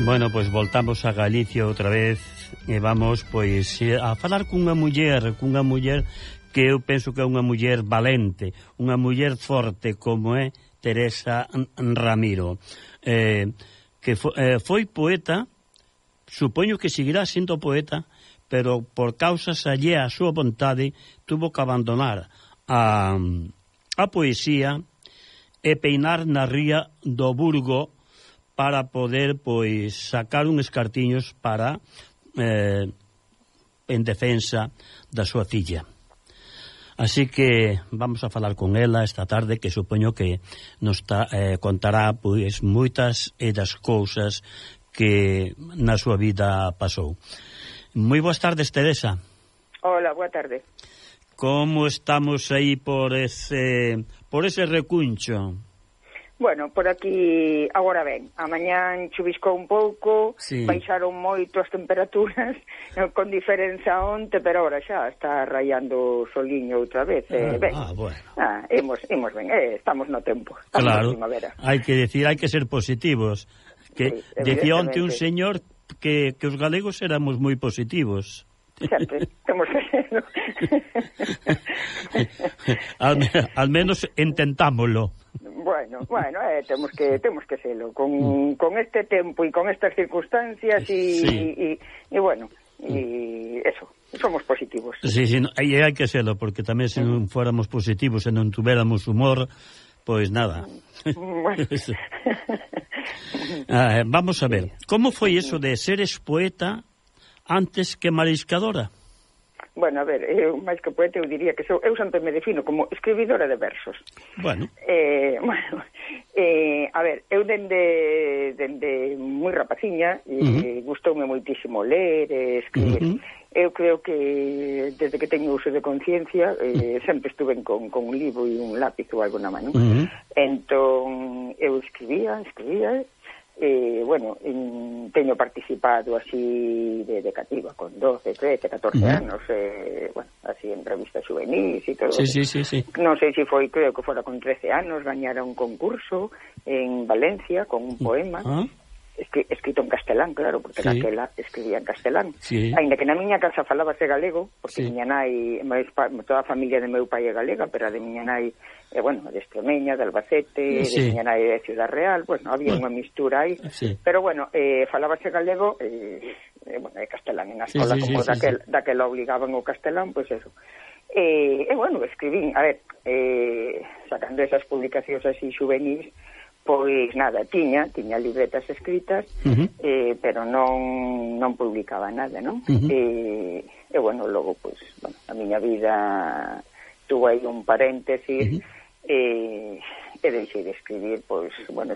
Bueno, pois voltamos a Galicia outra vez e vamos pois a falar cunha muller que eu penso que é unha muller valente, unha muller forte como é Teresa Ramiro, que foi poeta, supoño que seguirá sendo poeta, pero por causas allea a súa vontade tuvo que abandonar a poesía e peinar na ría do Burgo para poder, pois, sacar uns cartiños para en defensa da súa filla. Así que vamos a falar con ela esta tarde, que supoño que nos contará, pois, moitas das cousas que na súa vida pasou. Moi boas tardes, Teresa. Hola, boa tarde. Como estamos aí por ese recuncho? Bueno, por aquí agora ben. A mañán chuviscou un pouco, sí. Baixaron moito as temperaturas, con diferenza onte, pero agora xa está raiando o soliño outra vez. Ben. Bueno. Imos ben, estamos no tempo. Claro, hai que decir, hai que ser positivos. Que sí, decía onte un señor que os galegos éramos moi positivos. Sempre, temos que serlo. al menos intentámoslo. Bueno, temos que serlo con este tempo e con estas circunstancias e bueno, e eso, somos positivos. Sí, hai que serlo, porque tamén se non fóramos positivos e non tuveramos humor, pois nada. Bueno. Vamos a ver, como foi eso de seres poeta antes que mariscadora? Bueno, a ver, eu máis que poeta eu diría que eu sempre me defino como escribidora de versos. Bueno. A ver, eu dende moi rapaciña gustoume moitísimo ler e escribir. Eu creo que desde que teño uso de conciencia sempre estuve con un libro e un lápiz ou algo na mano. Entón, eu escribía bueno, teño participado así de cativa con 12, 13, 14 anos, bueno, así en revistas juvenis e todo. Sí. Non sei se foi, creo que fora con 13 anos, gañara un concurso en Valencia con un poema escrito en castelán, claro, porque naquela escribía en castelán. Ainda que na miña casa falábase galego, porque miña nai, toda a familia de meu pai é galega, pero a de miña nai bueno, de Extremeña, de Albacete, de miña nai de Ciudad Real, bueno, había unha mistura aí, pero bueno, falábase galego, bueno, de castelán, en a escola, como daquela obligaban o castelán, pois eso. Bueno, escribín, a ver, sacando esas publicacións así juvenis, pois nada, tiña libretas escritas, pero non publicaba nada, non? E bueno, logo, pois, bueno, a miña vida tuvo aí un paréntesis e deixei de escribir, pois, bueno,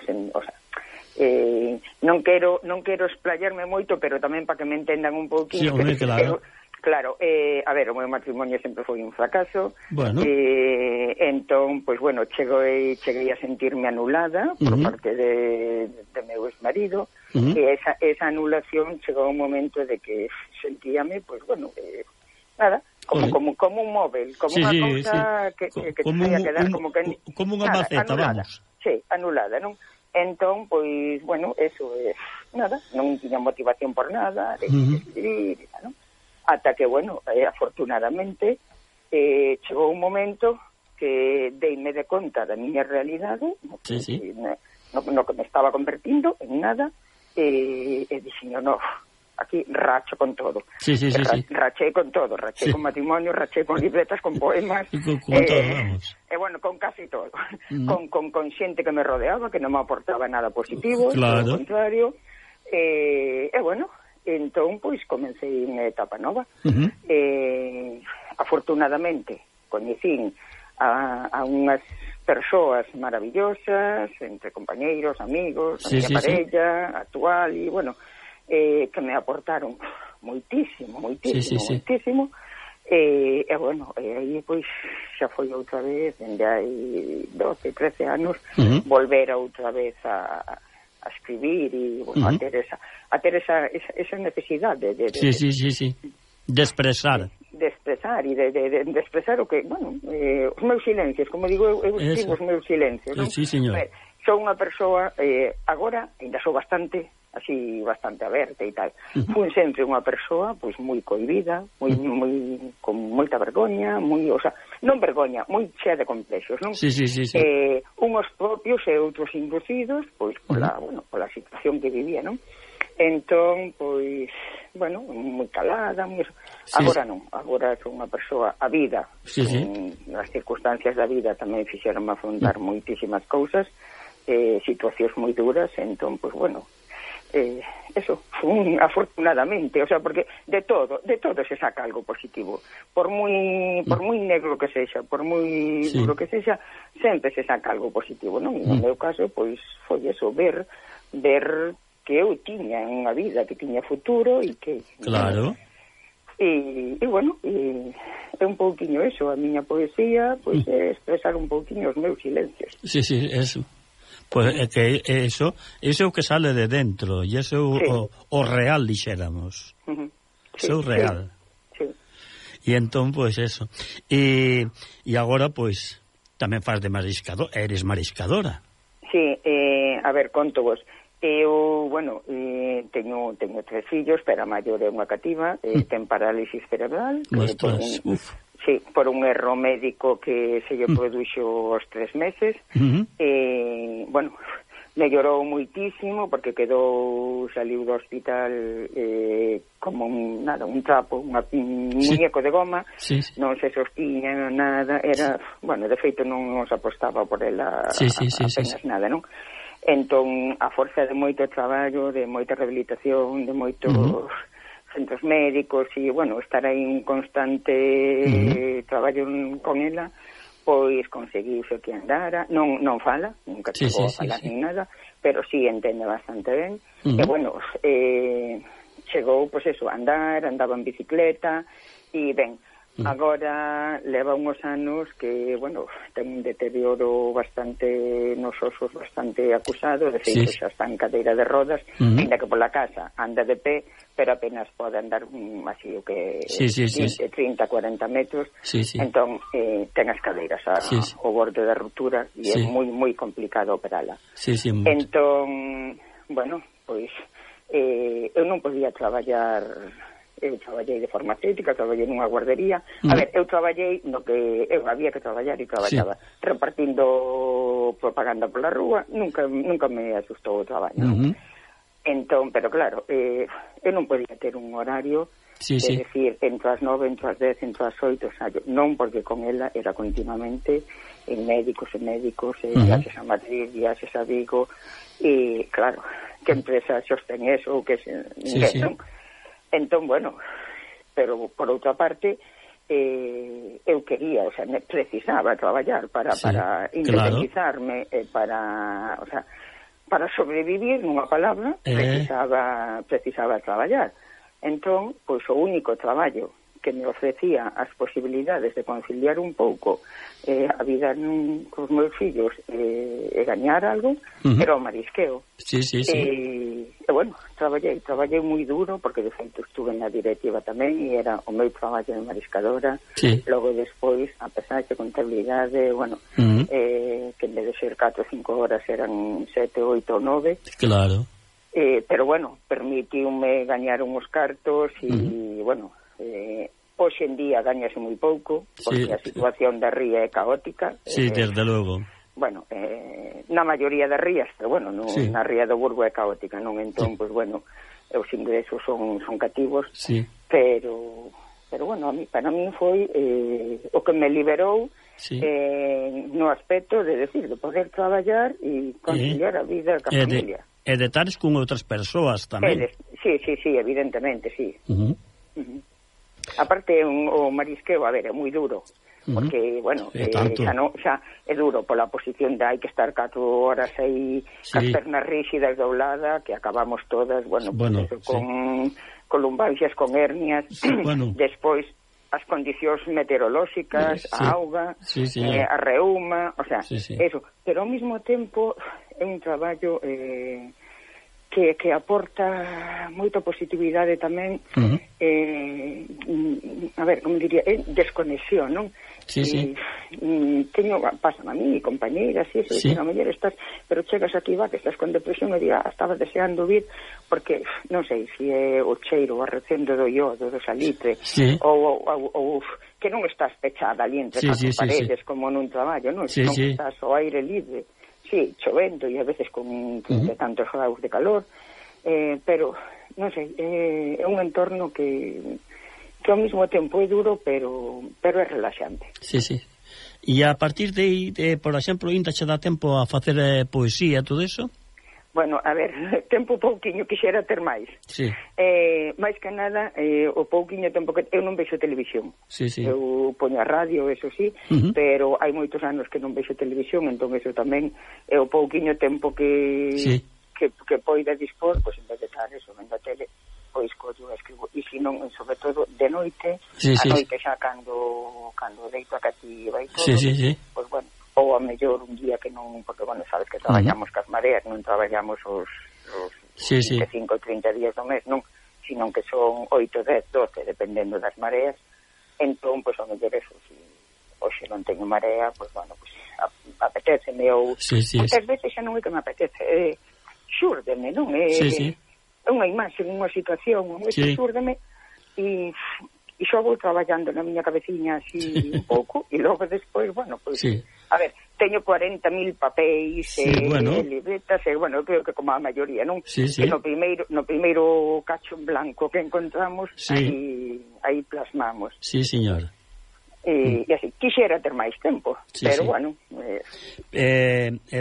non quero explayarme moito, pero tamén para que me entendan un pouquinho. Sí, claro. Claro, a ver, o meu matrimonio sempre foi un fracaso. Bueno. Entón, pois, bueno, cheguei a sentirme anulada por parte de meu exmarido, e esa anulación chegou un momento de que sentíame, pois, bueno, nada, como un móvel, como unha cousa que como a quedar como unha maceta, vamos. Sí, anulada, non? Entón, pois, bueno, eso é nada, non tiña motivación por nada, escribir, non? Ata que, bueno, afortunadamente chegou un momento que deime de conta da miña realidade, no que me estaba convertindo en nada, e dixen, no, aquí racho con todo. Rachei con todo, rachei con matrimonio, rachei con libretas, con poemas, con todo, vamos. Bueno, con casi todo. Con xente que me rodeaba, que non me aportaba nada positivo, claro. Ao contrario, bueno, entón, pois, comecei unha etapa nova. Afortunadamente, coñecín a unhas persoas maravillosas, entre compañeiros, amigos, a miña parella actual, e, bueno, que me aportaron moitísimo. E, bueno, aí, pois, xa foi outra vez, dende hai 12, 13 anos, volver outra vez a escribir e, bueno, a ter esa necesidade de expresar. De expresar e de expresar o que, bueno, os meus silencios, como digo, eu escribo os meus silencios, non? Sí, señor. sou unha persoa, agora, ainda sou bastante aberta e tal. Fui sempre unha persoa, pois, moi cohibida, con moita vergoña, non vergoña, moi chea de complexos, non? Sí. Unos propios e outros inducidos, pois, pola situación que vivía, non? Entón, pois, bueno, moi calada, agora non, agora sou unha persoa a vida. As circunstancias da vida tamén fixeron afrontar moitísimas cousas, situacións moi duras, entón, pois, bueno, eso, afortunadamente, o sea, porque de todo se saca algo positivo, por moi negro que sexa, por moi duro que sexa, sempre se saca algo positivo, non? No meu caso, pois, foi eso, ver que eu tiña unha vida, que tiña futuro e que... Claro. E bueno, é un pouquiño eso, a miña poesía, pois, é expresar un pouquiño os meus silencios. Sí, eso. Pois é que eso é o que sale de dentro, e eso é o real, dixéramos. Eso é o real. Sí. E entón, pois, eso. E agora, pois, tamén faz de mariscador, eres mariscadora. Sí, a ver, conto vos. Eu, bueno, teño 3 fillos, pero a maior é unha cativa, ten parálisis cerebral. Por un erro médico que se lle produxo aos 3 meses. Bueno, mellorou moitísimo porque saliu do hospital como un trapo, un muñeco de goma, non se sostiña nada, era, bueno, de feito non nos apostaba por ela apenas nada, non? Entón, a forza de moito traballo, de moita rehabilitación, de moitos centros médicos e, bueno, estar aí en constante traballo con ela, pois conseguiuse que andara, non fala, nunca chegou a falar nin nada, pero sí entende bastante ben, e, bueno, chegou, pois eso, a andar, andaba en bicicleta, e ben, agora leva uns anos que, bueno, ten un deterioro bastante nos osos, bastante acusado, de feito xa está en cadeira de rodas, ainda que pola casa anda de pé, pero apenas pode andar así o que 20, 30, 40 metros, entón ten as cadeiras ao borde da ruptura e é moi complicado operala. Entón, bueno, pois eu non podía traballar. Eu traballei de farmacéutica, traballei nunha guardería. A ver, eu traballei no que eu había que traballar e traballaba repartindo propaganda pola rúa, nunca me asustou o traballo. Entón, pero claro, eu non podía ter un horario de decir, entro as 9, entro as 10, entro as 8, o sea, non, porque con ela era continuamente en médicos, viaxes a Madrid, viaxes a Vigo, e claro, que empresa sostén eso, ou que ninguén, non? Entón, bueno, pero por outra parte eu quería, o sea, precisaba traballar para independizarme, para sobrevivir, nunha palabra, precisaba traballar. Entón, pois o único traballo que me ofrecía as posibilidades de conciliar un pouco a vida cos meus fillos e gañar algo, era o marisqueo. E, bueno, traballei moi duro, porque de feito estuve na directiva tamén, e era o meu traballo de mariscadora. Logo despois, a pesar de contabilidade, bueno, que en vez de ser 4 ou 5 horas eran 7, 8 ou 9. Claro. Pero, bueno, permitiume gañar uns cartos e, bueno, hoxe en día gañase moi pouco, porque a situación da ría é caótica. Desde logo. Bueno, na maioría das rías, pero, bueno, na ría do Burgo é caótica, non? Entón, pois, bueno, os ingresos son cativos, pero, bueno, para mí foi o que me liberou no aspecto de decir, de poder traballar e conciliar a vida ca familia. E de tares con outras persoas tamén. Sí, evidentemente, sí. Aparte, o marisqueo, a ver, é moi duro, porque, bueno, xa é duro pola posición de hai que estar 4 horas aí cas pernas rígidas doblada, que acabamos todas, bueno, con lumbalgias, con hernias, despois as condicións meteorolóxicas, a auga, a reuma, o sea, eso. Pero ao mesmo tempo é un traballo que aporta moita positividade tamén, a ver, como diría, desconexión, non? Sí. Teño, pasan a mí, compañeiras, e iso, a mellor estás, pero chegas aquí, que estás con depresión, e diga, estaba deseando vir, porque, non sei, se é o cheiro, o arrecendo do iodo, do salitre, ou que non estás pechada ali entre catro paredes, como nun traballo, non? Non estás ao aire libre, chovendo e a veces con tantos graus de calor, pero non sei, é un entorno que ao mesmo tempo é duro, pero é relaxante. Sí. E a partir de por exemplo, ainda che dá tempo a facer poesía, todo eso? Bueno, a ver, tempo pouquiño, quixera ter máis. Máis que nada, o pouquiño tempo que eu non vexo televisión. Eu poño a radio, eso sí, pero hai moitos anos que non vexo televisión, entón eso tamén é o pouquiño tempo que poida dispor, pois en vez de estar eso, vendo a tele, pois collo escribo, e se non, sobre todo de noite, a noite xa cando deito a cativa e todo, pois bueno, ou a mellor un día que non, porque bueno, sabes que traballamos cas mareas, non traballamos os 25 ou 30 días do mes, non, sino que son 8, 10, 12, dependendo das mareas, entón, pois, ao mellor eso, se hoxe non teño marea, pois, bueno, pois, apeteceme, ou moitas veces xa non é que me apetece, xúrdeme, non? É unha imaxe, unha situación, xúrdeme, e xo vou traballando na miña cabeciña así un pouco, e logo despois, bueno, pois, a ver, teño 40.000 papéis, libretas, bueno, eu creo que como a maioría, non? Que no primeiro cacho en blanco que encontramos, aí plasmamos. Sí, señor. E así, quixera ter máis tempo, pero bueno.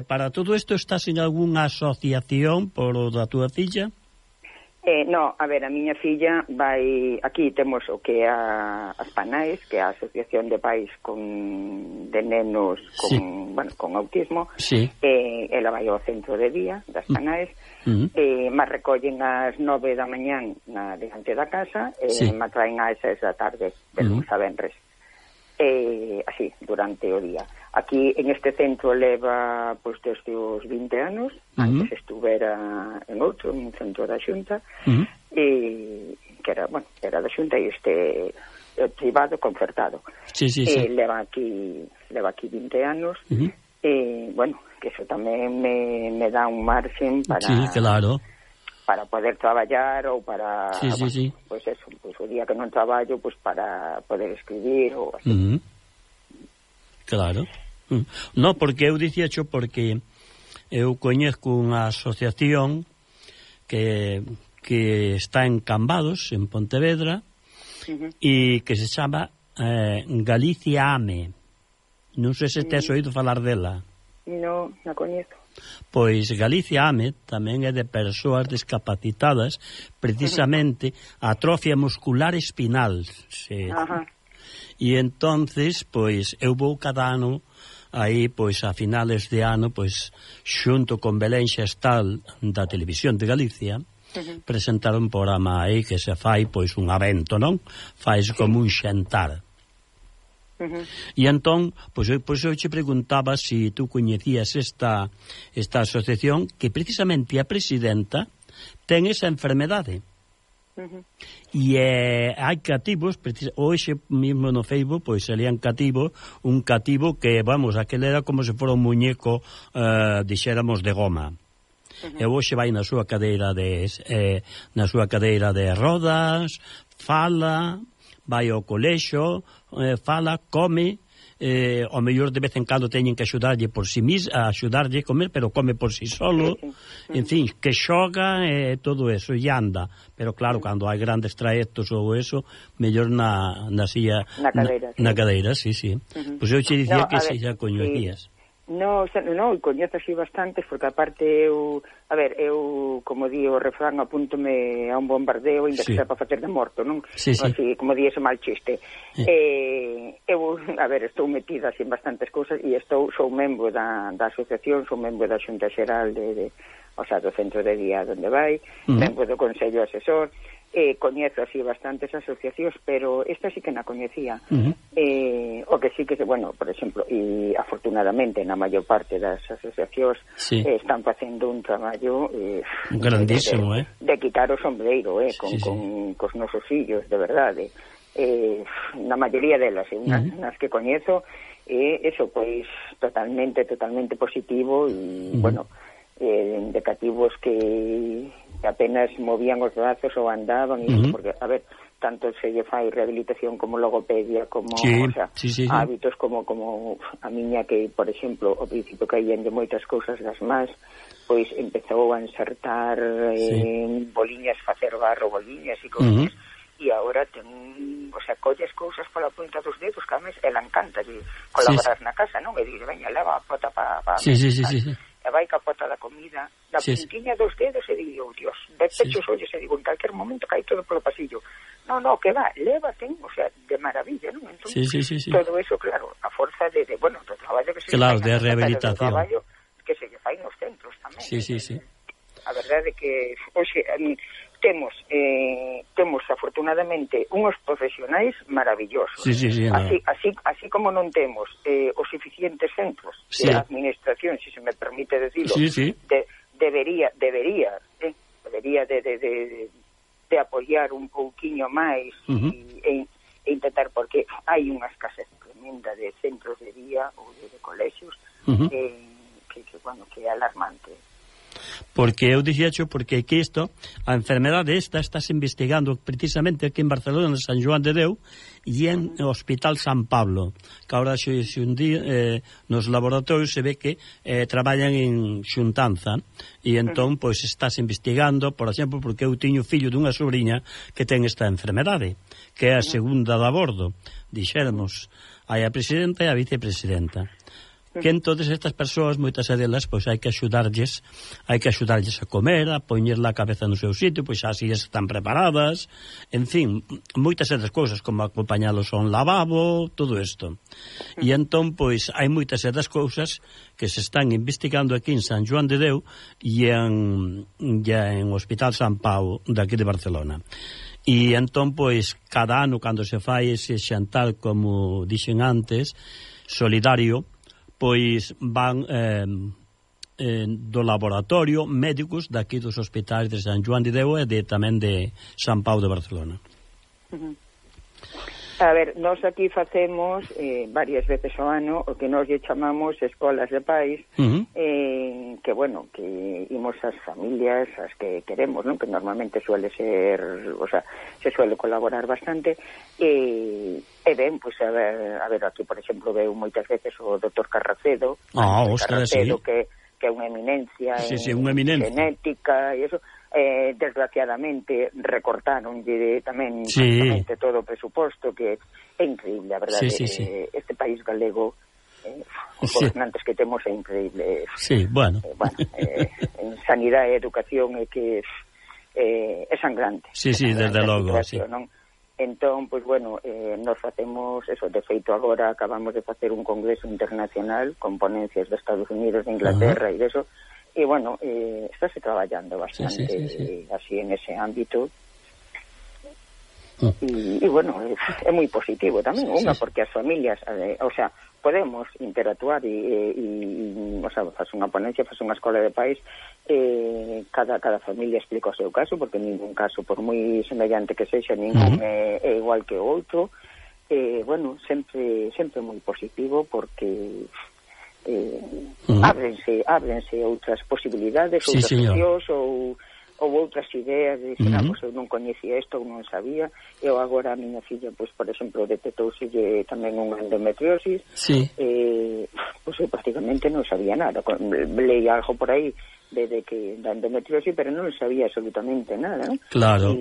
Para todo isto estás en algunha asociación por o da túa filla? No, a ver, a miña filla vai, aquí temos o que é as PANAES, que é a Asociación de Pais de Nenos con autismo, ela vai ao centro de día das PANAES, mas recollen ás 9 da mañán diante da casa, me traen ás 6 da tarde, de lunes a venres. Así, durante o día. Aquí, en este centro, leva pois desde os 20 anos, antes estuvera en outro, en un centro da Xunta, que era da Xunta, e este privado, concertado. Leva aquí 20 anos, e, bueno, que eso tamén me dá un marxen para... para poder traballar ou para pois eso, pois o día que non traballo, pois para poder escribir ou así. Claro. No, porque eu dicíacho porque eu coñezco unha asociación que está en Cambados, en Pontevedra, e que se chama Galicia Ame. Non sei se tes oído falar dela. Non, non coñezo. Pois Galicia Ame tamén é de persoas discapacitadas, precisamente atrofia muscular espinal. E entonces, pois, eu vou cada ano aí, pois, a finales de ano, pois, xunto con Belén Xestal da Televisión de Galicia, presentar un programa aí que se fai, pois, un evento, non? Fais como un xantar. E entón, pois eu te preguntaba se tú coñecías esta asociación, que precisamente a presidenta ten esa enfermedade. E hai cativos, hoxe mesmo no Facebook, pois salían cativos, un cativo que, vamos, aquel era como se fora un muñeco, dixéramos, de goma. E hoxe vai na súa cadeira de rodas, fala, vai ao colexo, fala, come, ao mellor de vez en cando teñen que axudarlle por si axudarlle a comer, pero come por si solo, en fin, que xoga e todo eso, e anda, pero claro, cando hai grandes traectos ou eso, mellor na cadeira, sí. Pois eu che dicía que se xa coñecías. No, coñezo así bastantes, porque aparte eu, como di o refrán, apúntome a un bombardeo, ainda que sea para facer de morto, non? Así, como di ese mal chiste. Eu, estou metida así en bastantes cousas, e sou membro da asociación, sou membro da Xunta Xeral do centro de día onde vai, membro do Consello Asesor, coñezo así bastantes asociacións, pero esta sí que na coñecía. O que sí que, bueno, por exemplo, e afortunadamente na maior parte das asociacións están facendo un traballo grandísimo, de quitar o sombreiro, con cos nosos fillos, de verdade. Na maioría delas, nas que coñezo, eso, pois, totalmente positivo e, bueno, indicativos que apenas movían os brazos ou andaban, porque, a ver, tanto se lle fai rehabilitación como logopedia, como, o sea, hábitos como a miña que, por exemplo, ao principio caían de moitas cousas das más, pois empezou a insertar boliñas, facer barro, boliñas e cousas, e agora ten, o sea, colles cousas pola punta dos dedos, que a mes ela encanta de colaborar na casa, non? E dir, veña, leva a pota para e vai capota da comida da puntiña dos dedos e digo, Dios, de pecho os ollos e digo, en calquer momento cae todo polo pasillo. No, que va, lévate, o sea, de maravilla, non? Entón, todo eso, claro, a forza de bueno, do traballo que se fai, de rehabilitación, traballo que se fai nos centros tamén. A verdade é que, oxe, temos afortunadamente uns profesionais maravillosos. Así como non temos os suficientes centros de administración, se me permite decirlo, debería de apoiar un pouquiño máis e intentar, porque hai unha escasez tremenda de centros de día ou de colexios que é alarmante. Porque eu dixecho, porque que isto, a enfermedade esta estás investigando precisamente aquí en Barcelona, en San Joan de Deu, e en o Hospital San Pablo, que agora un día nos laboratorios se ve que traballan en xuntanza, e entón, pois, estás investigando, por exemplo, porque eu tiño fillo dunha sobrinha que ten esta enfermedade, que é a segunda de abordo, dixéramos, hai a presidenta e a vicepresidenta. Que entonces estas persoas, moitas delas, pois hai que axudarlles a comer, a poñerla a cabeza no seu sitio, pois así están preparadas, en fin, moitas outras cousas, como acompañalos a un lavabo, todo isto. E entón, pois, hai moitas outras cousas que se están investigando aquí en San Joan de Deu e en Hospital San Pau, daqui de Barcelona. E entón, pois, cada ano, cando se fai ese xantar, como dixen antes, solidario, pois van do laboratorio médicos daqui dos hospitais de San Joan de Deu e tamén de San Pau de Barcelona. A ver, nós aquí facemos varias veces ao ano o que nós lle chamamos escolas de pais, que, bueno, que imos as familias as que queremos, non? Que normalmente suele ser, o sea, se suele colaborar bastante, e ben, pois, a ver, aquí, por exemplo, veo moitas veces o Dr. Carracedo, que é unha eminencia en genética e eso. Desgraciadamente recortaronlle tamén todo o presuposto, que é increíble, a verdade. Este país galego, os gobernantes que temos, é increíble. En sanidade e educación é que é sangrante. Desde logo, non? Entón, pois, bueno, nos facemos eso. De feito, agora acabamos de facer un congreso internacional con ponencias de Estados Unidos, de Inglaterra e de eso. E, bueno, estáse traballando bastante así en ese ámbito. E, bueno, é moi positivo tamén, porque as familias, o sea, podemos interactuar e o sea, faz unha ponencia, faz unha escola de pais, cada familia explica o seu caso, porque ningún caso, por moi semellante que sexa, ningún é igual que o outro. Bueno, sempre moi positivo, porque ábrense outras posibilidades, outras opcións ou outras ideas de dicir, pois eu non coñecía isto ou non sabía. Eu agora a miña filla, pois, por exemplo, detectouselle tamén unha endometriosis, pois eu prácticamente non sabía nada. Leí algo por aí de que da endometriosis, pero non sabía absolutamente nada, non? Claro,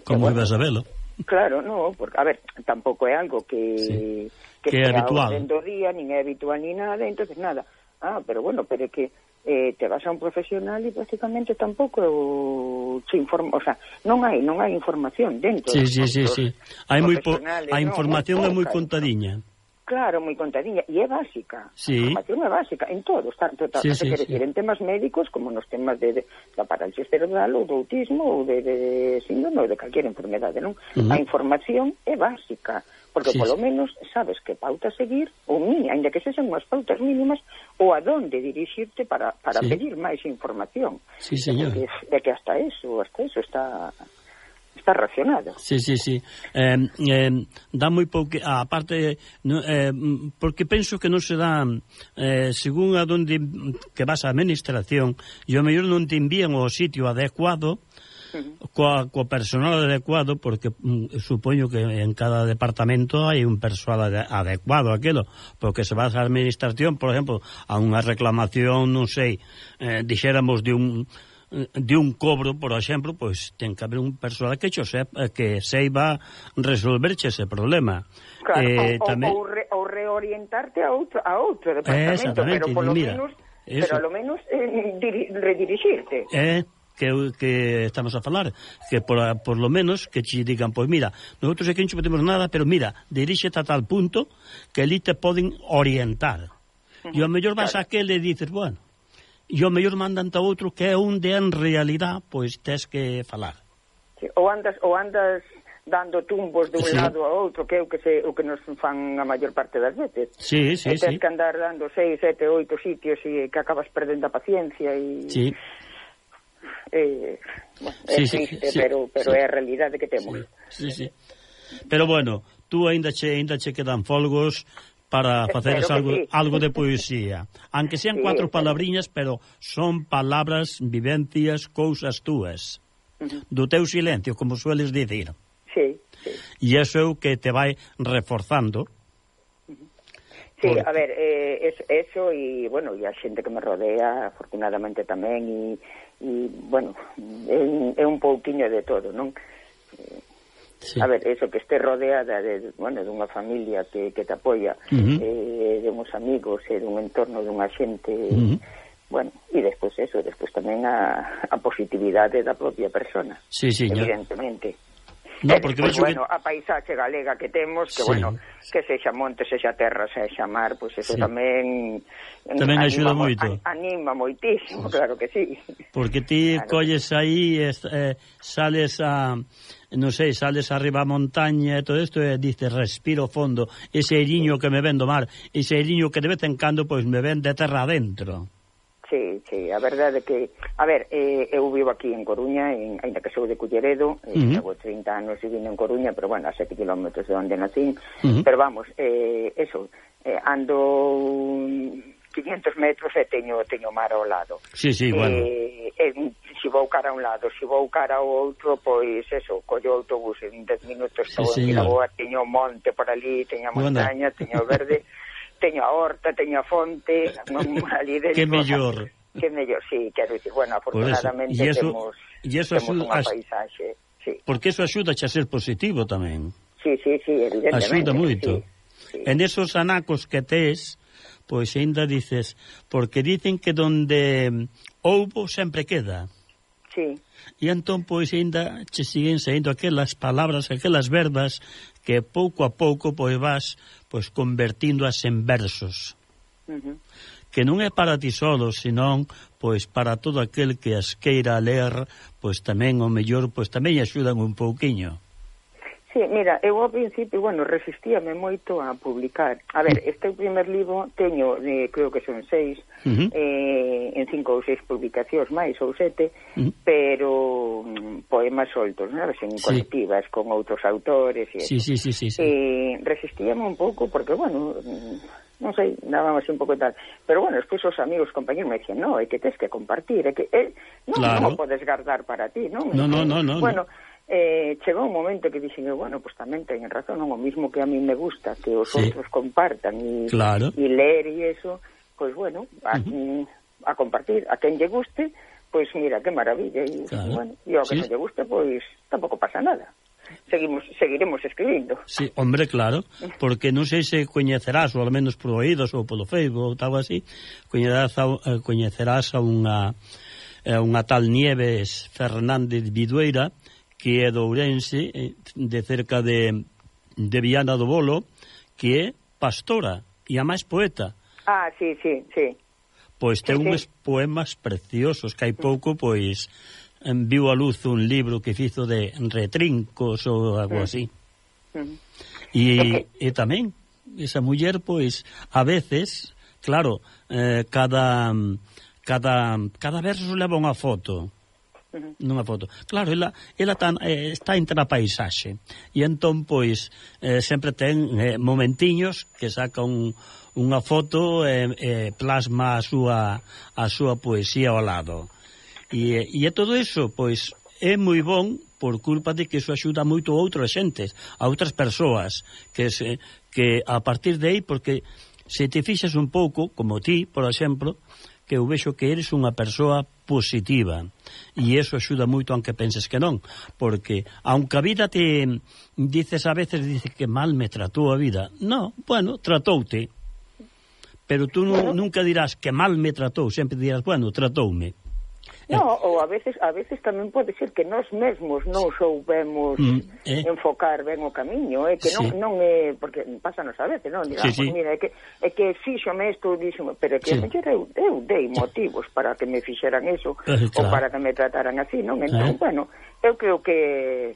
como ibas a velo? Claro, no, porque, a ver, tampouco é algo que é habitual dentro do día, nin é habitual ni nada, entonces nada. Pero bueno, pero é que te vas a un profesional e prácticamente tampouco se informa, o sea, non hai información dentro. Hai a información é moi contadiña. Claro, moi contadiña, e é básica. Sí. A información é básica, en todo, tanto en temas médicos como nos temas da parálisis cerebral ou do autismo ou de síndrome ou de calquera enfermedade, non? A información é básica, porque polo menos sabes que pauta seguir, ou ainda que sexan unhas pautas mínimas, ou a donde dirixirte para pedir máis información. Sí, señor. É que hasta eso está racionado. Sí. Dá moi pouco, a parte, porque penso que non se dá, según a donde que vas a administración, e ao mellor non te envían ao sitio adecuado, co personal adecuado, porque supoño que en cada departamento hai un persoal adecuado aquilo, porque se vas a administración, por exemplo, a unha reclamación, non sei, dixéramos de un cobro, por exemplo, pois ten que haber un persoal que seiba resolverche ese problema. Claro, ou reorientarte a outro departamento, pero polo menos redirixirte. Que estamos a falar, que por lo menos que te digan, pois mira, nosotros aquí non podemos nada, pero mira, diríxete a tal punto que ali te poden orientar. E ao mellor vas a aquel e dices, bueno, e ao mellor mandan a outro que é onde en realidad pois tes que falar. Sí, ou andas dando tumbos de un lado a outro, que é o que nos fan a maior parte das veces. Sí. Tens que andar dando 6, 7, 8 sitios e que acabas perdendo a paciencia e... Sí. Triste, pero é a realidade que temos. Sí. Pero bueno, tú ainda che quedan folgos para facer algo de poesía. Aunque sean 4 palabriñas, pero son palabras, vivencias, cousas túas. Do teu silencio, como sueles dicir. Sí. E iso é o que te vai reforzando. Sí, a ver, eso e, bueno, e a xente que me rodea, afortunadamente tamén, e bueno, é un pouquiño de todo, non? Sí. A ver, eso, que este rodeada de unha familia que te apoia, de uns amigos e dun entorno dunha xente, bueno, e despois tamén a positividade da propia persona, evidentemente. No, porque despois, a paisaxe galega que temos, que que sexa monte, sexa terra, sexa mar, pois eso tamén axuda moito. Anima moitísimo, claro que sí. Porque ti colles aí, sales sales arriba a montaña e todo isto e dices, respiro fondo, ese airiño que me ven do mar, ese airiño que de vez en cando pois me ven de terra adentro. Sí, a verdade que... A ver, eu vivo aquí en Coruña, ainda que sou de Culleredo, levo 30 anos vivindo en Coruña, pero bueno, a 7 kilómetros de onde nacín, pero vamos, ando 500 metros e teño mar ao lado. Sí, bueno. Se vou cara a un lado, se vou cara ao outro, pois collo o autobús en 10 minutos, estou en Vilaboa, teño monte por ali, teño a montaña, teño verde... Teño a horta, teño a fonte, ali dentro. Que mellor, sí, quero dicir, bueno, afortunadamente temos unha paisaxe. Sí. Porque eso axuda a ser positivo tamén. Sí, evidentemente. Axuda moito. Sí. En esos anacos que tes, pois ainda dices, porque dicen que donde houbo sempre queda. Sí. E entón, pois, ainda che siguen saindo aquelas palabras, aquelas verbas que pouco a pouco, pois, vas pois convertíndoas en versos. Que non é para ti solo, senón pois para todo aquel que as queira ler, pois tamén o mellor, pois tamén axudan un pouquiño. Sí, mira, eu ao principio, resistíame moito a publicar. A ver, este primer libro teño, creo que son 6, en 5 ou 6 publicacións máis, ou 7, pero poemas soltos, sabes, en colectivas, con outros autores, e sí. Resistíame un pouco, porque, non sei, dábamos un pouco tal, pero despois os amigos, compañeros me dicen, é que tes que compartir, é que non o podes guardar para ti, non? No. Chegou un momento que dixen, pues tamén teñen razón, non o mismo que a mí me gusta que os outros compartan e ler e eso, pois a compartir, a quen lle guste, pois mira, que maravilla, e ao que non lle guste, pois tampouco pasa nada. Seguiremos escribindo. Sí, hombre, claro, porque non sei se coñecerás, ou ao menos por oídos ou polo Facebook ou tal así, coñecerás a unha tal Nieves Fernández Vidueira, que é de Ourense, de cerca de Viana do Bolo, que é pastora e a máis poeta. Sí. Pois ten uns poemas preciosos que hai pouco, pois, viu a luz un libro que fizo de retrincos ou algo así. E tamén, esa muller, pois, a veces, claro, cada verso leva unha foto. Nunha foto. Claro, ela está entre a paisaxe. E entón, pois, sempre ten momentiños que saca unha foto e plasma a súa poesía ao lado. E todo iso, pois, é moi bon por culpa de que iso axuda moito a outras xentes, a outras persoas, que a partir de aí, porque se te fixas un pouco, como ti, por exemplo, que eu vexo que eres unha persoa positiva, e eso axuda moito aunque penses que non, porque aunque a vida te dices a veces que mal me tratou a vida, no, bueno, tratoute, pero tú nunca dirás que mal me tratou, sempre dirás, bueno, tratoume. No, ou a veces tamén pode ser que nós mesmos non soubemos enfocar ben o camiño, que non é, porque pásanos a veces, non? Digamos, mira, é que fíxome isto, díxome, pero que eu dei motivos para que me fixeran eso, ou para que me trataran así, non? Entón, bueno, eu creo que...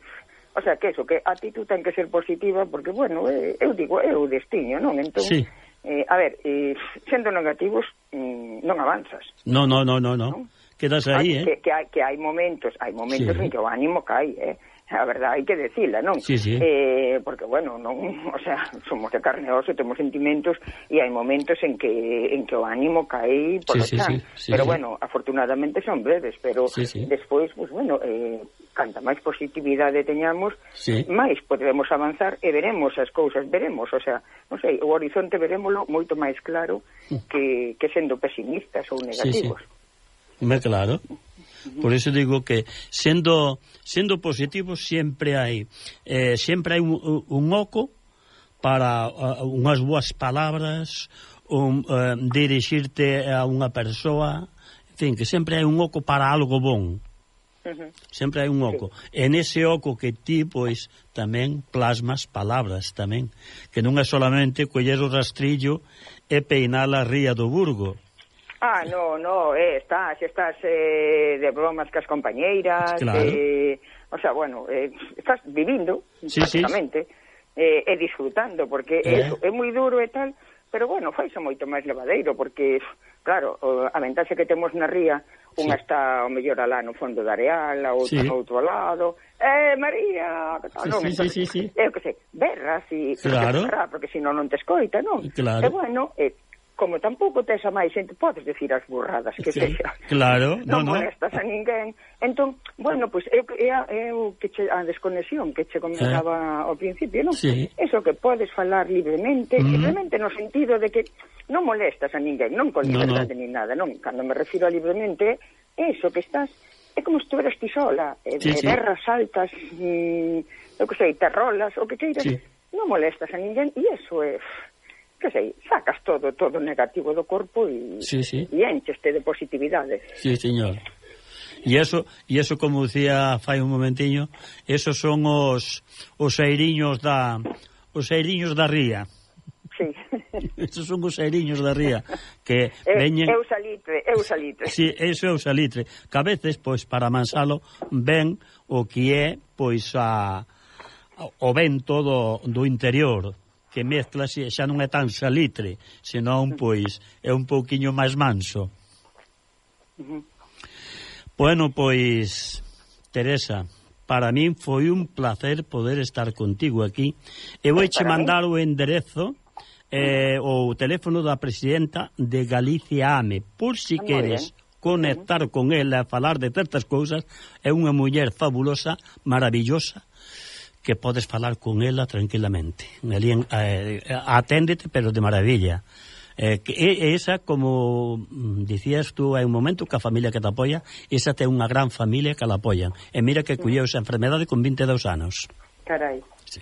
O sea, que eso, que a ti tú ten que ser positiva, porque, bueno, eu digo, é o destiño, non? Entón, a ver, sendo negativos, non avanzas. No. Quedas aí, que hai momentos en que o ánimo cae, a verdade hai que decila, non? Porque, bueno, non, o sea, somos de carne e oso, temos sentimentos e hai momentos en que o ánimo cae por o chan, pero bueno, afortunadamente son breves, pero despois, pues bueno, canta máis positividade teñamos, máis podemos avanzar e veremos as cousas, o sea, non sei, o horizonte verémolo moito máis claro que sendo pesimistas ou negativos. Claro. Por eso digo que sendo positivos sempre hai un oco para unhas boas palabras, dirixirte a unha persoa, en fin, que sempre hai un oco para algo bon. Sempre hai un oco. En ese oco que ti, pois, tamén plasmas palabras tamén, que non é solamente coller o rastrillo e peinar a ría do Burgo. No, estás de bromas cas compañeiras, o sea, bueno, estás vivindo, prácticamente, e disfrutando, porque é moi duro e tal, pero bueno, faise moito máis levadeiro, porque, claro, a ventaxe que temos na ría, unha está ao mellor alá no fondo da areal, a outra no outro lado, María, que tal, non? Eu que sei, berras, porque senón non te escoita, non? E bueno, como tampouco tes a máis xente, podes decir as burradas que sexa. Claro, non molestas a ninguén. Entón, bueno, pois é a desconexión que che comentaba ao principio, non? Eso que podes falar libremente, libremente no sentido de que non molestas a ninguén, non con liberdade ni nada, non? Cando me refiro a libremente, eso que estás, é como se estuveras ti sola, berras altas, eu que sei, terrolas, o que queiras, non molestas a ninguén, e eso é... que sei, sacas todo negativo do corpo e encheste de positividade. Sí, señor. E eso como dicía fai un momentiño, esos son os airiños da ría. Sí. Esos son os airiños da ría que veñen... Eu salitre. Sí, eso é o salitre. Que a veces, pois, para amansalo, ven o que é, pois, o vento do interior, que mezcla, xa non é tan salitre, senón, pois, é un pouquiño máis manso. Bueno, pois, Teresa, para min foi un placer poder estar contigo aquí. E vouche mandar o enderezo, o teléfono da presidenta de Galicia AME, por si queres conectar con ela, falar de certas cousas. É unha muller fabulosa, maravillosa, que podes falar con ela tranquilamente. Aténdete, pero de maravilla. Esa, como dicías tú hai un momento, que a familia que te apoia, esa ten unha gran familia que la apoyan. E mira que colleu esa enfermedade con 22 anos. Carai. Sí.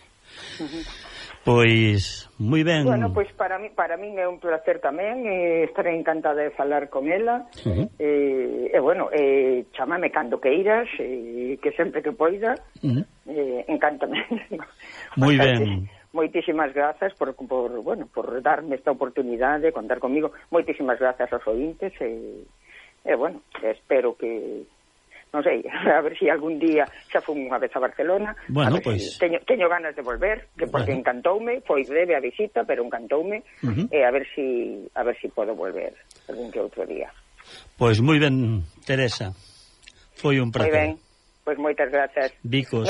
Pois, moi ben. Bueno, pois para min é un placer tamén, estaré encantada de falar con ela, bueno, chámame cando queiras, que sempre que poida, encántame. Moi ben. moitísimas grazas por darme esta oportunidade de contar comigo. Moitísimas grazas aos ointes bueno, espero que non sei, a ver se algún día xa fui unha vez a Barcelona. Bueno, pois teño ganas de volver, que porque encantoume, foi breve a visita, pero encantoume, a ver si podo volver algún que outro día. Pois moi ben, Teresa. Foi un prazer. Moi ben. Pois moitas grazas. Bicos.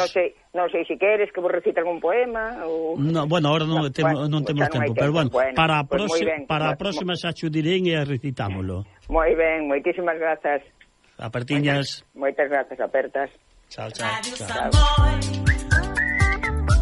Non sei se queres que vos recite algún poema ou... No, bueno, ahora non temos tempo, pero bueno, para a próxima xa cho dirén e recitámolo. Moi ben, moitísimas grazas. Apertiñas. Moitas grazas, apertas. Chao.